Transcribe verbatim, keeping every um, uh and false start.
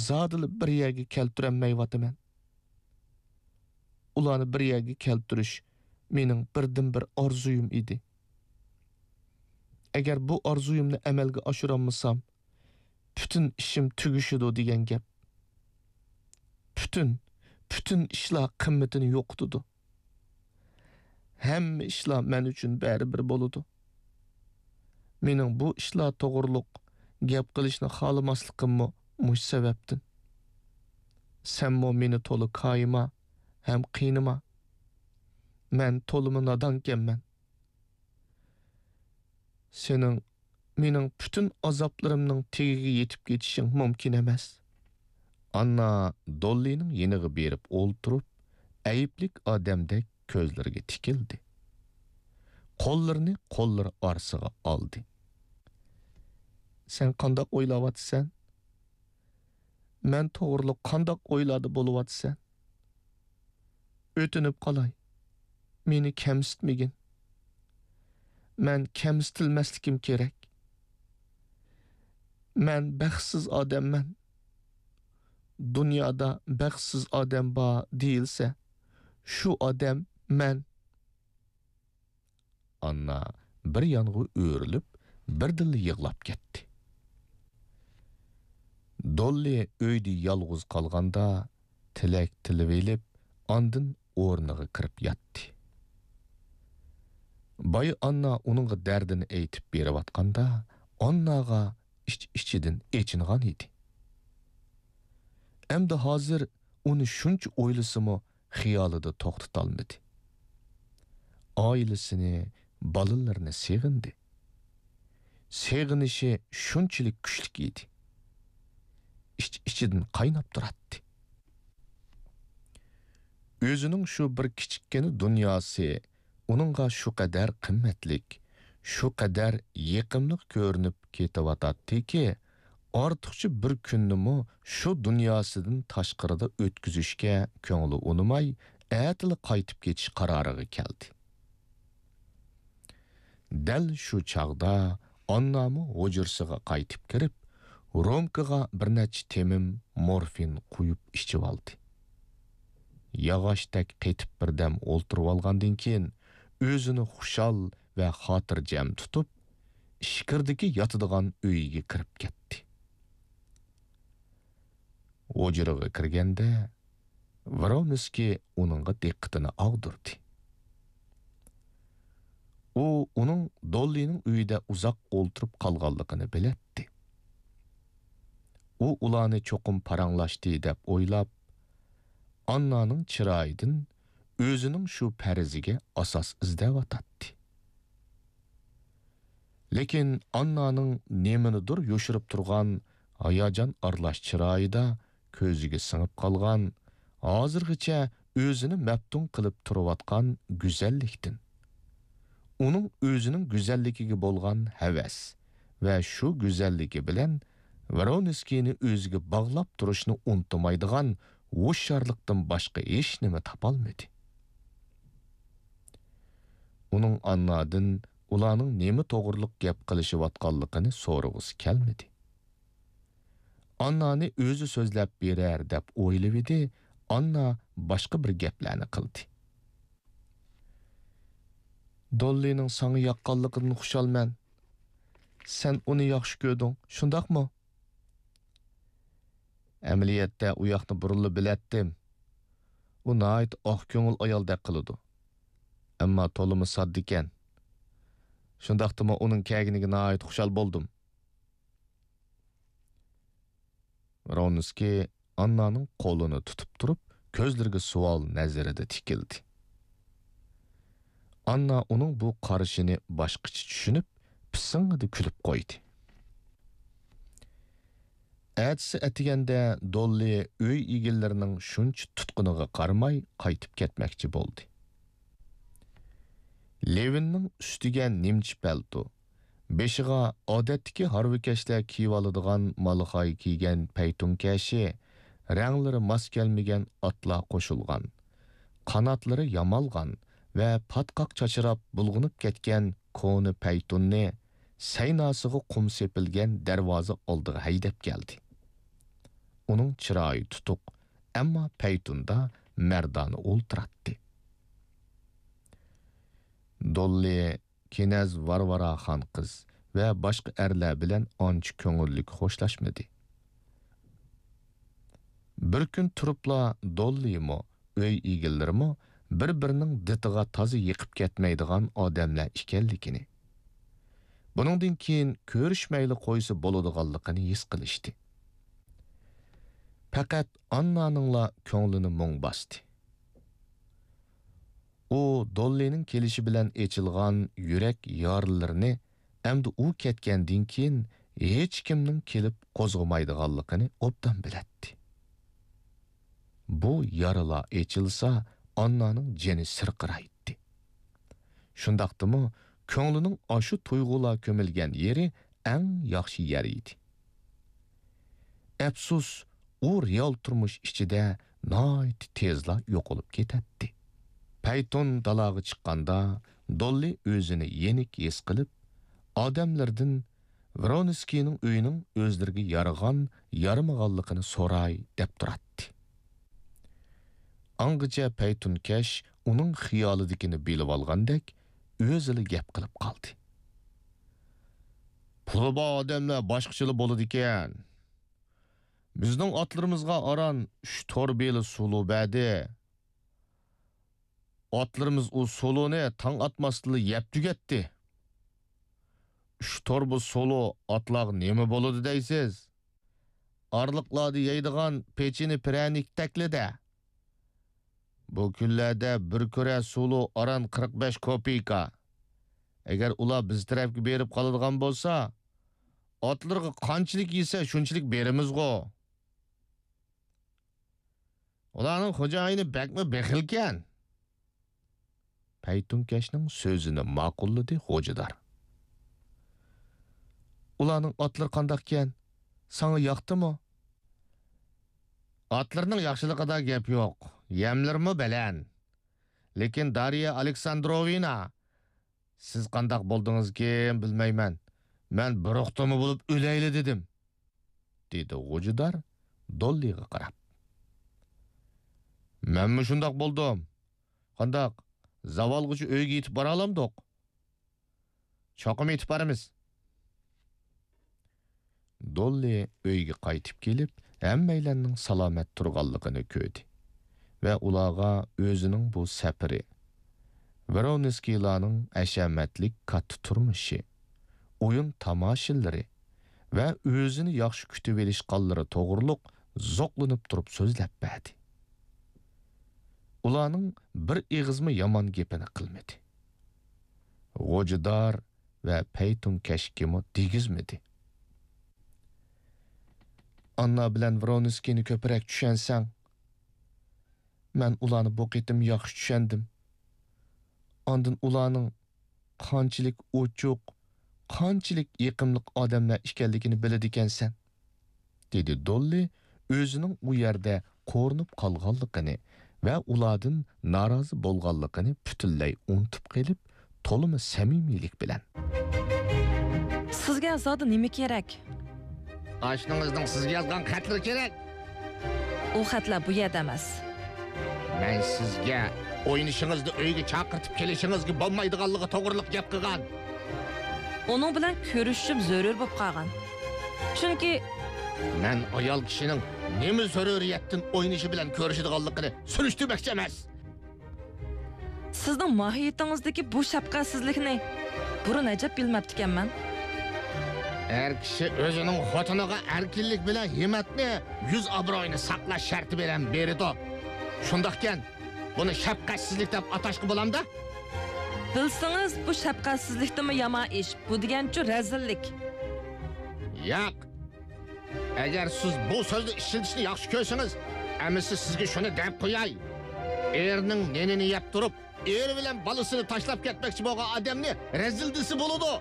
زادىلا بىر يەرگە كەلتۈرەلمەيۋاتىمەن. ئۇلارنى بىر يەرگە كەلتۈرۈش مېنىڭ بىردىنبىر ئارزۇيۇم ئىدى. ئەگەر بۇ ئارزۇيۇمنى ئەمەلگە ئاشۇرالمىسام، پۈتۈن ئىشىم تۈگىشىدۇ دېگەن گەپ. پۈتۈن، پۈتۈن ئىشلار قىممىتىنى يوقىتىدۇ. ھەممە ئىشلار مەن ئۈچۈن بەرىبىر بولىدۇ. مېنىڭ بۇ ئىشلار توغرۇلۇق گەپ قىلىشنى خالىماسلىقىممۇ مۇشۇ سەۋەبتىن. سەنمۇ مېنى تولا كايىما ھەم قىينىما. مەن تولىمۇ نادانكەنمەن. سېنىڭ مېنىڭ پۈتۈن ئازابلىرىمنىڭ تېگىگە يېتىپ كېتىشىڭ مۇمكىن ئەمەس. ئاننا دوللىنىڭ يېنىغا بېرىپ ئولتۇرۇپ، ئەيىبلىك ئادەمدەك كۆزلىرىگە تىكىلدى. قوللىرىنى قوللىرى ئارىسىغا ئالدى. سەن قانداق ئويلاۋاتىسەن؟ مەن توغرۇلۇق قانداق ئويلاردا بولۇۋاتىسەن؟ ئۆتۈنۈپ قالاي، مېنى كەمسىتمىگىن. مەن كەمسىتىلمەسلىكىم كېرەك. مەن بەختسىز ئادەممەن. دۇنيادا بەختسىز ئادەم بار دېيىلسە، شۇ ئادەم مەن. ئاننا بىر يانغا ئۆرۈلۈپ، بىردىنلا يىغلاپ كەتتى. دوللى ئۆيدە يالغۇز قالغاندا، تىلەك تىلىۋېلىپ، ئاندىن ئورنىغا كىرىپ ياتتى. بايا ئاننا ئۇنىڭغا دەردىنى ئېيتىپ بېرىۋاتقاندا، ئانناغا ئىچ-ئىچىدىن ئېچىنغان ئىدى. ئەمدى ھازىر ئۇنى شۇنچە ئويلىسىمۇ، خىيالىدا توختىتالمىدى. ئائىلىسىنى، بالىلىرىنى سېغىندى. سېغىنىشى شۇنچىلىك كۈچلۈك ئىدى. ئىچ-ئىچىدىن قايناپ تۇراتتى. ئۆزىنىڭ شۇ بىر كىچىككىنە دۇنياسى ئۇنىڭغا شۇ قەدەر قىممەتلىك، شۇ قەدەر يېقىملىق كۆرۈنۈپ كېتىۋاتاتتىكى، ئارتۇقچە بىر كۈننىمۇ شۇ دۇنياسىدىن تاشقىرىدا ئۆتكۈزۈشكە كۆڭلى ئۇنىماي، ئەتىلا قايتىپ كېتىش قارارىغا كەلدى. دەل شۇ چاغدا ئاننامۇ ھۇجرىسىغا قايتىپ كىرىپ، رومكىغا بىر نەچچە تېمىم مورفىن قۇيۇپ ئىچىۋالدى. ياغاچتەك قېتىپ بىردەم ئولتۇرۇۋالغاندىن كېيىن، ئۆزىنى خۇشال ۋە خاتىرجەم تۇتۇپ، ئىچكىرىدىكى ياتىدىغان ئۆيىگە كىرىپ كەتتى. ھۇجرىغا كىرگەندە، ۋرونسكىي ئۇنىڭغا دىققىتىنى ئاغدۇردى. ئۇ ئۇنىڭ دوللىنىڭ ئۆيىدە ئۇزاق ئولتۇرۇپ قالغانلىقىنى بىلەتتى. ئۇ ئۇلارنى چوقۇم پاراڭلاشتى دەپ ئويلاپ، ئاننانىڭ چىرايىدىن ئۆزىنىڭ شۇ پەرىزىگە ئاساس ئىزدەۋاتاتتى. لېكىن ئاننانىڭ نېمىنىدۇر يوشۇرۇپ تۇرغان ھاياجان ئارىلاش چىرايىدا كۆزىگە سىڭىپ قالغان، ھازىرغىچە ئۆزىنى مەپتۇن قىلىپ تۇرۇۋاتقان گۈزەللىكتىن، ئۇنىڭ ئۆزىنىڭ گۈزەللىكىگە بولغان ھەۋەس ۋە شۇ گۈزەللىكى بىلەن ۋرونسكىينى ئۆزىگە باغلاپ تۇرۇشنى ئۇنتۇمايدىغان ھوشيارلىقتىن باشقا ھېچنېمە تاپالمىدى. ئۇنىڭ ئاننادىن ئۇلارنىڭ نېمە توغرۇلۇق گەپ قىلىشىۋاتقانلىقىنى سورىغۇسى كەلمىدى. ئاننانى ئۆزى سۆزلەپ بېرەر دەپ ئويلىۋىدى، ئاننا باشقا بىر گەپلەرنى قىلدى. دوللىنىڭ ساڭا ياققانلىقىدىن خۇشالمەن. سەن ئۇنى ياخشى كۆردۈڭ، شۇنداقمۇ؟ ئەمەلىيەتتە ئۇ ياقنى بۇرۇنلا بىلەتتىم. ئۇ ناھايىتى ئاق كۆڭۈل ئايالدەك قىلىدۇ. ئەمما تولىمۇ ساددىكەن. شۇنداقتىمۇ ئۇنىڭ كەلگىنىگە ناھايىتى خۇشال بولدۇم. ۋرونسكىي ئاننانىڭ قولىنى تۇتۇپ تۇرۇپ، كۆزلىرىگە سوئال نەزىرىدە تىكىلدى. ئاننا ئۇنىڭ بۇ قارىشىنى باشقىچە چۈشىنىپ، پىسىڭڭىدە كۈلۈپ قويدى. ئەتىسى ئەتىگەندە دوللى ئۆي ئىگىلىرىنىڭ شۇنچە تۇتقىنىغا قارىماي قايتىپ كەتمەكچى بولدى. لېۋىننىڭ ئۈستىگە نىمچە پەلتو، بېشىغا ئادەتتىكى ھارۋىكەشلەر كىيىۋالىدىغان مالىخاي كىيگەن پەيتۇنكەشى، رەڭلىرى ماس كەلمىگەن ئاتلار قوشۇلغان، قاناتلىرى يامالغان ۋە پاتقاق چاچراپ بۇلغىنىپ كەتكەن كونا پەيتۇننى سەيناسىغا قۇم سېپىلگەن دەرۋازا ئالدىغا ھەيدەپ كەلدى. ئۇنىڭ چىرايى تۇتۇق، ئەمما پەيتۇندا مەردانە ئولتۇراتتى. دوللى كېنەز ۋارۋارا خانقىز ۋە باشقا ئەرلەر بىلەن ئانچە كۆڭۈللۈك خوشلاشمىدى. بىر كۈن تۇرۇپلا دوللىمۇ، ئۆي ئىگىلىرىمۇ بىر-بىرىنىڭ دىتىغا تازا يېقىپ كەتمەيدىغان ئادەملەر ئىكەنلىكىنى، بۇنىڭدىن كېيىن كۆرۈشمەيلا قويسا بولىدىغانلىقىنى ھېس قىلىشتى. پەقەت ئاننانىڭلا كۆڭلىنى مۇڭ باستى. ئۇ دوللىنىڭ كېلىشى بىلەن ئېچىلغان يۈرەك يارىلىرىنى ئەمدى ئۇ كەتكەندىن كېيىن ھېچكىمنىڭ كېلىپ قوزغىمايدىغانلىقىنى ئوبدان بىلەتتى. بۇ يارىلار ئېچىلسا، ئاننانىڭ جېنى سىرقىرايتتى. شۇنداقتىمۇ، كۆڭلىنىڭ ئاشۇ تۇيغۇلار كۆمۈلگەن يېرى ئەڭ ياخشى يەر ئىدى. ئەپسۇس، ئۇ رېئال تۇرمۇش ئىچىدە ناھايىتى تېزلا يوقىلىپ كېتەتتى. پەيتۇن دالاغا چىققاندا، دوللى ئۆزىنى يېنىك ھېس قىلىپ، ئادەملىرىدىن ۋرونسكىينىڭ ئۆيىنىڭ ئۆزلىرىگە يارىغان، يارىمىغانلىقىنى سوراي دەپ تۇراتتى. ئاڭغىچە پەيتۇنكەش ئۇنىڭ خىيالىدىكىنى بىلىۋالغاندەك، ئۆزىلا گەپ قىلىپ قالدى. پۇلى بار ئادەملەر باشقىچىلا بولىدىكەن. بىزنىڭ ئاتلىرىمىزغا ئاران ئۈچ تور بېلى سۇلۇ بەردى. ئاتلىرىمىز ئۇ سۇلۇنى تاڭ ئاتماستىنلا يەپ تۈگەتتى. ئۈچ تور بۇ سۇلۇ ئاتلارغا نېمە بولىدۇ دەيسىز؟ ئارىلىقلاردا يەيدىغان پېچىنە پىرەنىكتەكلىدە. بۇ كۈنلەردە بىر كۈرە سۇلۇ ئاران قىرىق بەش كوپېيكا. ئەگەر ئۇلار بىز تەرەپكە بېرىپ قالىدىغان بولسا، ئاتلىرىغا قانچىلىك يېسە، شۇنچىلىك بېرىمىزغۇ. ئۇلارنىڭ خوجايىنى بەكمۇ بېخىلكەن. پەيتۇنكەشنىڭ سۆزىنى ماقۇللىدى غوجىدار. ئۇلارنىڭ ئاتلىرى قانداقكەن؟ ساڭا ياقتىمۇ؟ ئاتلىرىنىڭ ياخشىلىقىدا گەپ يوق. يەملىرىمۇ بەلەن. لېكىن دارىيا ئالېكساندروۋنا، سىز قانداق بولدىڭىزكىن بىلمەيمەن، مەن بىر ئوقتىمۇ بولۇپ ئۆلەيلى دېدىم، دېدى غوجىدار دوللىغا قاراپ. مەنمۇ شۇنداق بولدۇم. قانداق، زاۋالغىچە ئۆيگە يېتىپ بارالامدۇق؟ چوقۇم يېتىپ بارىمىز. دوللى ئۆيگە قايتىپ كېلىپ، ھەممەيلەننىڭ سالامەت تۇرغانلىقىنى كۆردى ۋە ئۇلارغا ئۆزىنىڭ بۇ سەپىرى، ۋرونسكىيلارنىڭ ھەشەمەتلىك كاتتا تۇرمۇشى، ئويۇن تاماشىلىرى ۋە ئۆزىنى ياخشى كۈتۈۋېلىشقانلىرى توغرۇلۇق زوقلىنىپ تۇرۇپ سۆزلەپ بەردى. ئۇلارنىڭ بىر ئېغىزمۇ يامان گېپىنى قىلمىدى. غوجىدار ۋە پەيتۇنكەشكىمۇ دېگۈزمىدى. ئاننا بىلەن ۋرونسكىينى كۆپرەك چۈشەنسەڭ. مەن ئۇلارنى بۇ قېتىم ياخشى چۈشەندىم. ئاندىن ئۇلارنىڭ قانچىلىك ئوچۇق، قانچىلىك يېقىملىق ئادەملەر ئىكەنلىكىنى بىلىدىكەنسەن. دېدى دوللى ئۆزىنىڭ ئۇ يەردە قورۇنۇپ قالغانلىقىنى ۋە ئۇلاردىن نارازى بولغانلىقىنى پۈتۈنلەي ئۇنتۇپ قېلىپ، تولىمۇ سەمىمىيلىك بىلەن. سىزگە زادى نېمە كېرەك؟ ئاشنىڭىزنىڭ سىزگە يازغان خەتلىرى كېرەك. ئۇ خەتلەر بۇ يەردە ئەمەس. مەن سىزگە ئوينىشىڭىزنى ئۆيگە چاقىرتىپ كېلىشىڭىزگە بولمايدىغانلىقى توغرىلىق گەپ قىلغان. ئۇنىڭ بىلەن كۆرۈشۈشۈم زۆرۈر بولۇپ قالغان. چۈنكى مەن ئايال كىشىنىڭ نېمە زۆرۈرىيەتتىن ئوينىشى بىلەن كۆرۈشىدىغانلىقىنى سۈرۈشتۈرمەكچى ئەمەس. سىزنىڭ ماھىيىتىڭىزدىكى بۇ شەپقەتسىزلىكنى بۇرۇن ئەجەب بىلمەپتىكەنمەن. ئەر كىشى ئۆزىنىڭ خوتۇنىغا ئەركىنلىك بىلەن ھىممەتنى، يۈز ئابرۇيىنى ساقلاش شەرتى بىلەن بېرىدۇ. شۇنداقكەن، بۇنى شەپقەتسىزلىك دەپ ئاتاشقا بولامدا؟ بىلسىڭىز، بۇ شەپقەتسىزلىكتىنمۇ يامان ئىش. بۇ دېگەنچۇ رەزىللىك. ياق. ئەگەر سىز بۇ سۆزنى ئىشلىتىشنى ياخشى كۆرسىڭىز، ئەمىسە سىزگە شۇنى دەپ قوياي. ئېرىنىڭ نېنىنى يەپ تۇرۇپ، ئېرى بىلەن بالىسىنى تاشلاپ كەتمەكچى بولغان ئادەمنى رەزىل دېسە بولىدۇ.